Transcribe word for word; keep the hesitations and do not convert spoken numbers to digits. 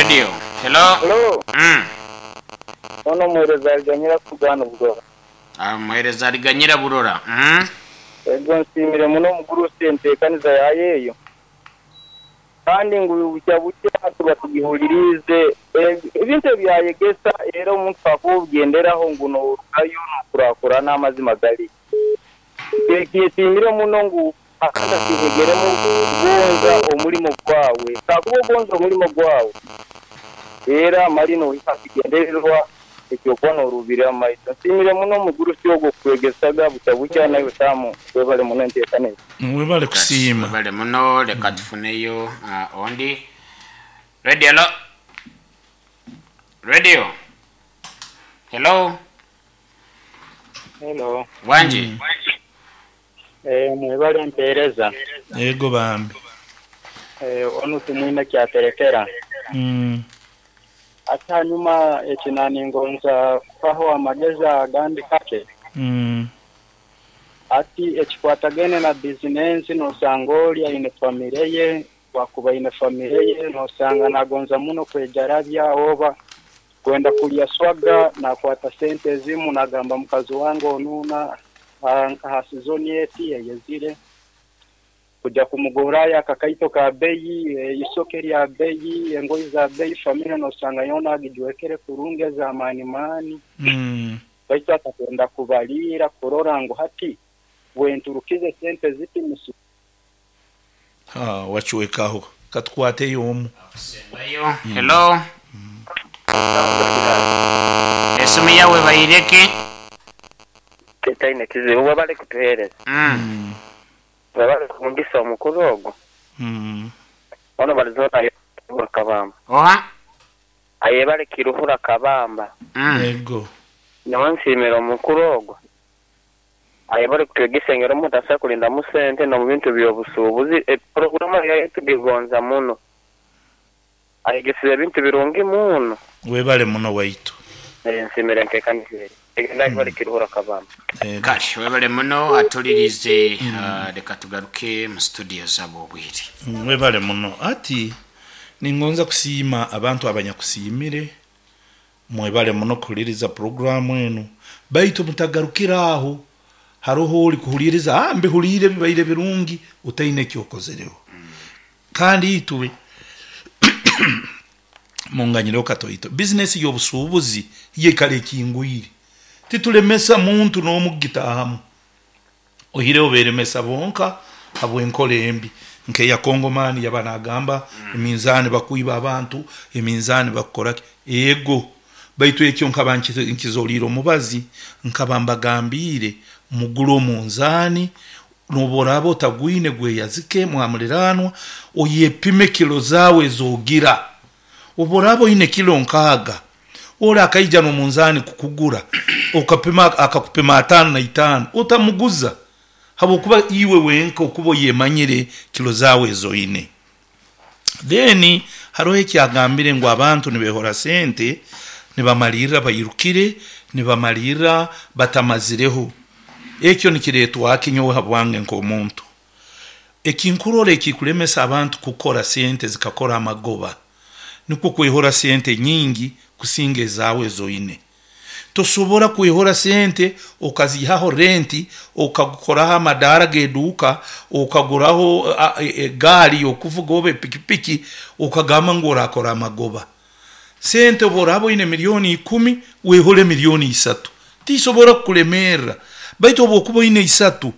Radio, hello. Hello. Mm. Ono muhereza aliganyira kugana obugora. Ah, muhereza aliganyira burora. Mm. Ego nsimire muno omugurusi enteekaniza yayo eyo. Kandi ngu bukya bukya tuba tugihulirize ebintu ebyayegesa era omuntu akugenderaho ngu norugayo nokurakura n'amazima gali. Ekisimire muno ngu akanda kihegeremu kugonza omulimo gwawe. Kakuba ogonza omulimo gwawe era marino ikakigendererwa ekyokuba norubira amaiso. Nsimire muno omugurusi ogwo kwegesaga bukya bukya nawe tamu webale muno enteekaniza. Webale kusiima. Webale muno, leka tufuneyo uh, ondi. Radio, hello. Radio. Hello. Hello. Wanji. Mm. Eh, mwebale mpereza. Yego bambi. Eh, onu tumwine kyaterekera. Mm. Ate hanyuma ekinani ngonza kufaho amagezi agandi kake. Mm. Ati ekikwatagene na bizinensi nosanga oli aine famire ye, wakuba aine famire ye nosanga nagonza muno kwejarabya oba kwenda kulya swaga nakwata sente ezimu nagamba mukazi wange onuna nka sizoni eti eyezire kujya kumugurayo akakaito ka beyi, isoke lya beyi, engoyi za beyi, famire nosanga yona agijwekere kurungi za mani mani. Mm. Baitu atakwenda kubalira kurora ngu hati wenturukize sente ziti musu. Ha, wachuwekaho katukwate omu. Ayo, hello. Mm. Esimu yawe bayireke. Tetaine kizibu wabale kutuhereza. Mm. Wabale kungisa omukuru ogwo. Mm. Ono balizona ayo kabamba. Oha? Ayebale kiruhura kabamba. Mm. Ego. Nyawansimira omukuru ogwo. Ayebale kutwegesa ngero omuntu asobola kulinda mu sente no mu bintu by'obusuubuzi. E, programu yayo tugigonza muno. Ayegesize ebintu birungi muno. Webale muno waitu. Nsimira nkekanire. Egenda kiruhura kabamba. Kale webale muno atulirize. mm. uh, leka tugaruke mu studio zabo obwire. Mm, webale muno. Ati ningonza kusiima abantu abanyakusiimire. Mwebale muno kuhuliriza programu enu. Baitu mutagarukira aho. Haroho oli kuhuliriza, ah, mbihulire bibaire birungi utaine kyokozereho. Mm. Kandi itwe munganyiro katoito. Business y'obusuubuzi yekale kingwire. Titulemesa muntu n'omugitahamu. Ohireho beremesa bonka habw'enkola embi. Nke ya Kongomani yabanagamba mm. eminzani bakuiba abantu, eminzani bakukora ego. Baitu ekyo nkaba nkizoliro mubazi nkaba mbagambire mugulo munzani noborabo tagwine gwe yazike mwamuliranwa oyepime kilo zawe zogira. Oborabo ine kilo nkaga ora akaija no munzani kukugura okapima akakupima atano na itano utamuguza habokuba iwe wenka okubo yemanyire kilo zawe zoine. Then haroho ekyagambire ngu abantu nibehora sente nibamalira bayirukire nibamalira batamazireho. Ekyo nikiretwa kinyowe habwange nk'omuntu. Ekinkurora ekikulemesa abantu kukora sente zikakora amagoba niko kwehora sente nyingi kusinga ezawe zoine. Tosobora kwehora sente okazihaho renti okakoraho amadara geduka okaguraho egari okuvuga obe pikipiki okagamba ngu orakora amagoba. Sente oborabo ine milioni ikumi wehole milioni isatu tisobora kulemera. Baitu obokuba ine isatu